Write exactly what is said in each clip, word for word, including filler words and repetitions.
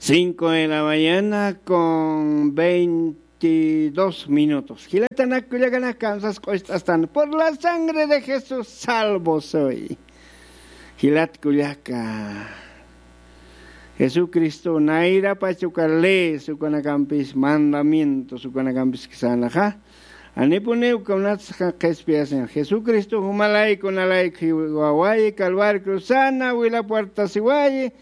Cinco de la mañana con veintidós minutos. Jilatanak kullakanak, kamsas q'ust'astan. Por la sangre de Jesús salvo soy. Jilat kullaka, Jesucristo nayrapach uka leyes ukanakampis, mandamientos ukanakampis ksanaxa, anipuniw kunatsa qhispiyasin. Jesucristo jumalayku nalayku jiwawayi, Calvario cruzana, wila puertasiwayi,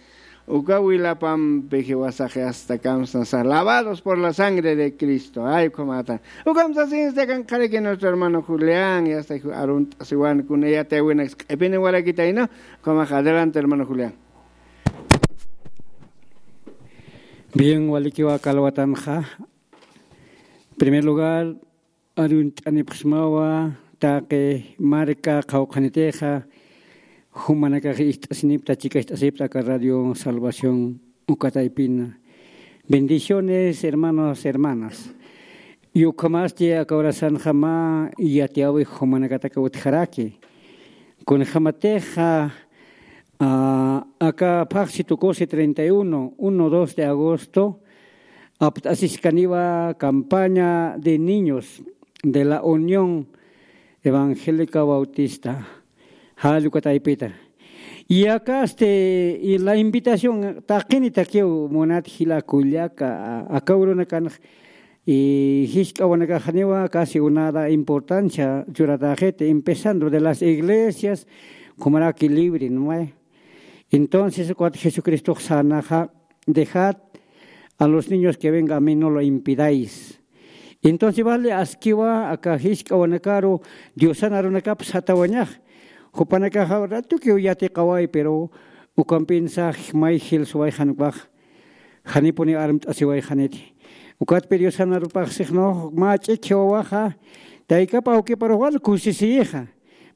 uka wilapampi jiwasaxi hasta kamsnasa, lavados por la sangre de Cristo. Ay, ukhamata. Ukham sasinsa kan qhariki nuestro hermano Julián, y hasta arunt'asiwan kuna yatiyäwinak q'ipini warakitayna. Ukhamax adelante, hermano Julián. Bien, walikiwa aka alwatanxa. Primer lugar, arunt'anipxsmawa taqi marka qhawqhanitixa, jumanakax ist'asinipta, chikacht'asipta aka Radio Salvación uka taypina. Bendiciones, hermanos, hermanas. Y ukhamasti aka horasanxa mä yatiyäwi jumanakataka utjaraki. Kunjamatixa, ah, aka phaxsi tukusi treinta y uno, uno, dos de agosto, apt'asiskaniwa campaña de niños de la Unión Evangélica Bautista, jall uka taypita. Y acá, este, y la invitación, taqinitakiw munat jila kullaka, aka urunakanx, y jisk'awanakaxaniwa casi unada importancia churataxiti, empezando de las iglesias, kumaraki libre, ¿no? Entonces, cuando Jesucristo sanaxa, dejad a los niños que vengan a mí, no lo impidáis. Entonces, vale, askiwa aka jisk'awanakaru Diosan arunakap satawañax. Jupanakaxa ratukiw yatiqaway, pero ukampinsa may jilsuway jan ukax. Janipuni armt'asiway janiti. Ukatpi Diosan arupax sixnux mä ch'ikhi wawaxa, taykap awkiparux wal kusisiyixa.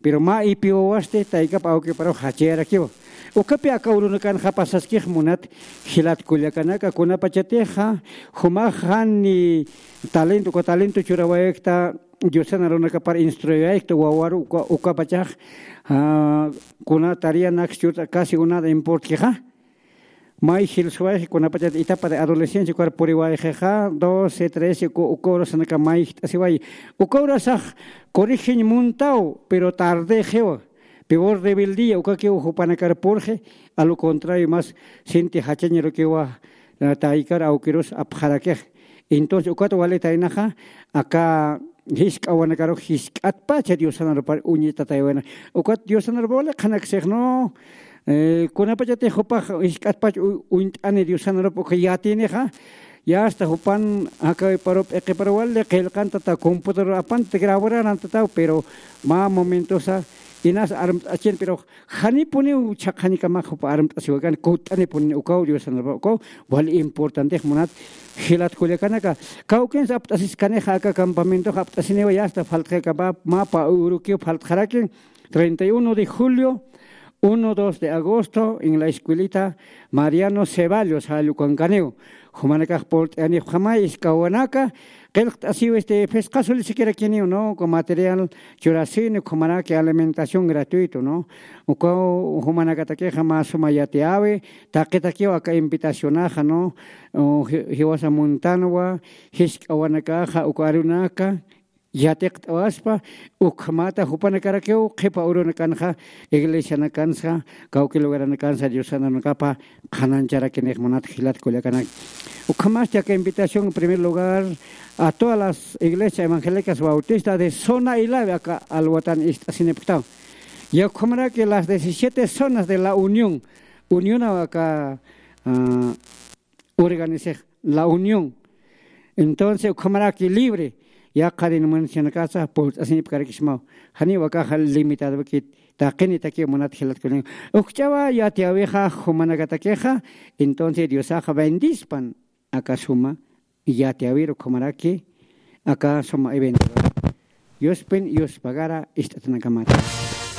Pero mä ipi wawasti taykap awkiparux jachayarakiwa. Ukapi aka urunakanxa pasaskix munat jilat kullakanaka, kunapachatixa jumax jani talento, uka talento churawayakta, Diosan arunakapar instruyaykta wawaru uka, ukapachax, ah, kuna tarea naksa churta casi unada importkixa. May jilsuwayxi kunapachat etapa de adolescencia ukar puriwayxixa, doce, trece, uka, uka horasanaka may jt'asiway. Uka horasax corrigen muntaw, pero tardexiwa. Peor rebeldía, ukakiw jupanakar purxi, a lo contrario, más sinti jachañarukiwa, ah, taykar awkirus apxarakix. Entonces, ukat walitaynaxa, aka jisk'awanakarux jisk'atpacha Diosan arupar uñitataywana. Ukat Diosan arupa wali qhanaksix, ¿no? Eh, kunapachatix jupax jisk'atpach u-, uñt'ani Diosan arupa uka yatinixa, ya hasta jupan jakawiparu p'iqiparu wali qillqantata, computador apanta, grabarantataw, pero mä momentosa inas armt'achin, pero janipuniw chhaqhañkamax jupa armt'asiwakan, kutt'anipuni ukaw Diosan arupa ukaw, wali importantix munat jilat kullakanaka. Kawkins apt'asiskanixa aka campamentox apt'asiniwa, ya hasta faltxakapa, mä pä urukiw faltxaraki, treinta y uno de julio, uno, dos de agosto, en la escuelita Mariano Ceballos, jall ukankaniw. Jumanakax purt'ayanipxamay, jisk'awanaka, qillqt'asiw, este, phisqa sulisakirakiniw, ¿no? Con material churasini, ukhamaraki alimentación gratuito, ¿no? Ukaw jumanakatakixa mä suma yatiyäwi, taqitakiw aka invitacionaxa, ¿no? O, ji-, jiwasa muntanwa, jisk'awanakaxa, uka arunaka, yatiqt'awaspa, ukhamata jupanakarakiw qhipa urunakanxa, iglesianakansa, kawki lugaranakansa, Diosan arunakapa qhanañcharakinix munat jilat kullakanak. Ukhamasti aka invitación, en primer lugar, a todas las iglesias evangélicas bautistas de zona Ilave, aka alwatan ist'asinipktaw. Ya ukhamaraki las diecisiete zonas de la Unión. Unión aka, ah, organizix, la Unión. Entonces, ukhamaraki libre, yaqha denominacionakasa purt'asinipkarakismaw. Janiw akaxa limitadowkit, taqinitakiw munat jilat kullaka. Ukch'awa yatiyäwixa jumanakatakixa, entonces Diosaxa bendispan aka suma yatiyäwir ukhamaraki, aka suma evento. Diospin, Dios pagara, ist'atanakamata.